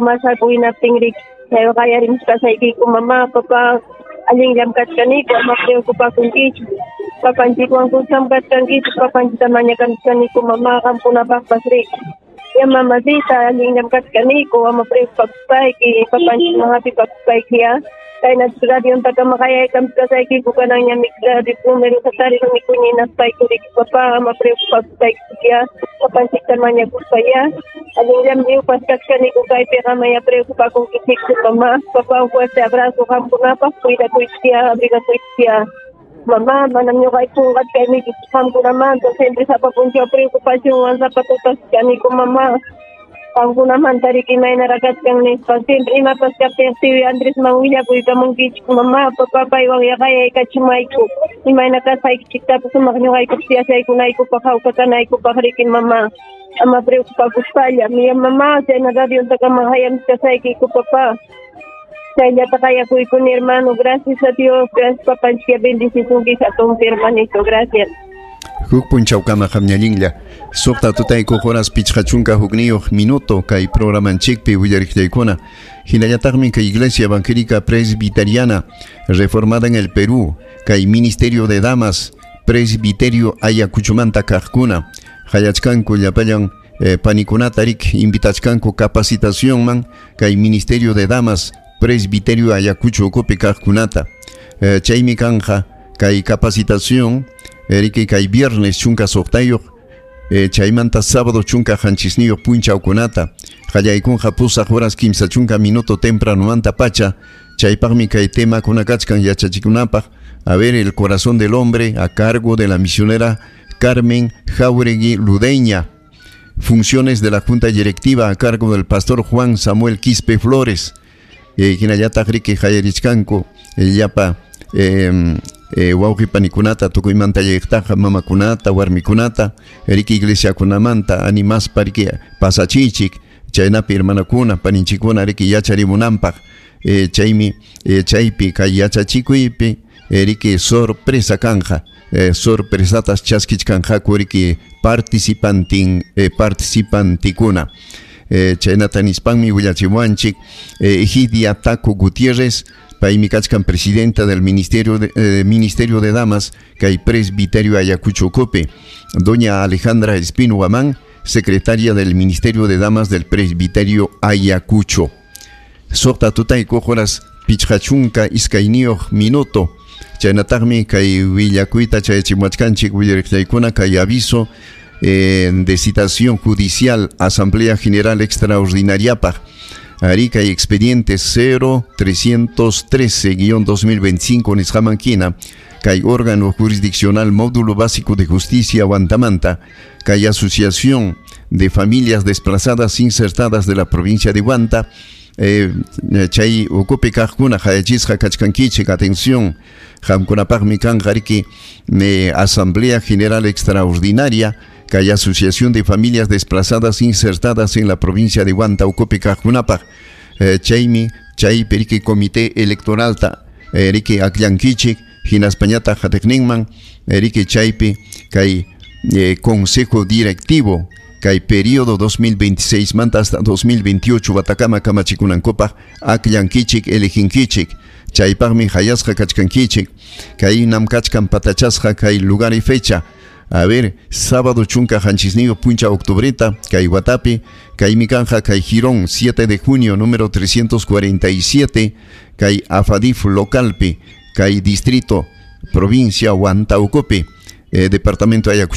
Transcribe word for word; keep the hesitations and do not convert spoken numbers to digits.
llamasqaku hinaptin riki qayarimuchkasaykiku mamá, papá, allinllam kachkaniku, ama preocupakunkichu. Papanchikwan kuskam kachkankichik, papanchita mañakamuchkaniku mamá, qamkunapaqpas riki. Ya mamacita, allinllam kachkaniku, ama preocupakuspayki, papanchikman hapipakuspayki ya. Kayna radiontakama qayaykamuchkasaykiku kananñami radio numerota tariruniku ñinaspayku riki papá, ama preocupakuspayki ya, papanchikta mañakuspa ya. Allinllam lliwpas kachkaniku kaypiqa amaya preocupakunkichikchu mamá. Papá, un fuerte abrazo qamkunapaq, cuidakuychik ya, abrigakuychik ya. Mamá, manam ñuqayku qunqachkaynikichik qamkunamanta, siempre sapa punchaw preocupacionwan sapa tutas kaniku mamá. Qamkunamanta riki imaynaraq kachkan nispa, siempre imapas kaptin tío Andresman willakuykamunkichik mamá, papá, paywan qayaykachimayku. Imayna kasqaykichiktapas sumaq ñuqaykupas yachaykunaykupaq, hawka kanaykupaq riki mamá. Ama preocupakuspalla, mi mamá, chayna radiontakama qayamuchkasaykiku papá. Chayllata qayakuykuni hermano, gracias a Dios, gracias papanchik, bendecisunki hatunpi hermanito, gracias. Huk punchawkama qamñallinlla. Suqta tutaykuq horas pichqa chunka hukniyuq minuto kay programanchikpi willariqllaykuna. Hinallataqmi kay Iglesia Evangélica Presbiteriana Reformada en el Perú, kay Ministerio de Damas Presbiterio Ayacuchumanta kaqkuna. Hayachkanku llapallan eh, panikunata rik invitachkanku capacitacionman kay Ministerio de Damas Presbiterio Ayacucho ukupi kaqkunata. Eh, chaymi kanja kay capacitación riki kay viernes chunka suqtayuq eh, chaymanta sábado chunka qanchisniyuq punchawkunata qallaykunqa pusaq horas kimsa chunka minuto tempranumanta pacha. Chaypaqmi kay temakuna kachkan yachachikunapaq: a ver, el corazón del hombre, a cargo de la misionera Carmen Jauregui Ludeña; funciones de la junta directiva, a cargo del pastor Juan Samuel Quispe Flores. eh, hinallataq riki qayarichkanku llapa eh, eh, wawqi panikunata tukuymanta llayqtaqa, mamakunata, warmikunata riki iglesiakunamanta animaspa riki pasachiychik, chaynapi hermanakuna, paninchikuna riki yacharimunanpaq. eh, chaymi eh, chaypi kay yachachikuypi eh, riki sorpresa kanja, eh, sorpresatas chaskichkanqaku riki participantin eh, participantikuna. eh, chaynata nispanmi willachimuwanchik eh, Egidia Taco Gutiérrez, paymi kachkan presidenta del Ministerio de, eh, Ministerio de Damas kay Presbiterio Ayacucho ukupi. Doña Alejandra Espino Guamán, secretaria del Ministerio de Damas del Presbiterio Ayacucho. Suqta tutaykuq horas pichqa chunka iskayniyuq minuto. Chaynataqmi kay willakuyta chayachimuwachkanchik willariqllaykuna kay aviso eh, de citación judicial Asamblea General Extraordinariapaq. Arí, kay expediente cero trescientos trece guion dos mil veinticinco nisqaman hina, kay órgano jurisdiccional Módulo Básico de Justicia Huantamanta, kay Asociación de Familias Desplazadas Insertadas de la provincia de Huanta, eh, chay ukupi kaqkuna qayachisqa kachkankichik. Atención, qamkunapaqmi kanqa riki eh, Asamblea General Extraordinaria kay Asociación de Familias Desplazadas Insertadas en la provincia de Huanta ukupi kaqkunapaq. eh, chaymi chaypi riki comité electoralta eh, riki akllankichik, hinaspañataq qatiqninman riki chaypi kay eh, consejo directivo kay periodo dos mil veintiséis manta hasta dos mil veintiocho watakama kamachikunankupaq akllankichik, eleginkichik. Chaypaqmi hayasqa kachkankichik. Kaynam kachkan patachasqa kay lugar y fecha. A ver, sábado chunka qanchisniyuq punchaw octubreta kay watapi, kaymi kanja kay Jirón siete de Junio número trescientos cuarenta y siete, kay Afadif localpi, kay distrito provincia Huanta ukupi, eh, departamento Ayacucho.